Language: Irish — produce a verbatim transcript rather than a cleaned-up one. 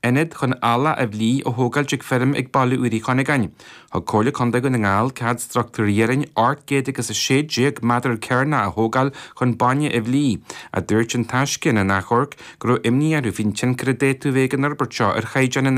Ionad chun eallach a bhlí a thógáilt ag feirm ag Baile Úr Uí Chuinneagáin. Thug Comhairle Contae Dhún na nGall cead struchtúr iarainn ocht gcéad agus a sé déag méadar cearnach a thógáil chun bainne a bhlí, a dúirt An Taisce ina n-achomharc go raibh imní orthu faoin tionchar a d'fhéadfadh a bheith ag an fhorbairt seo ar chaighdeán an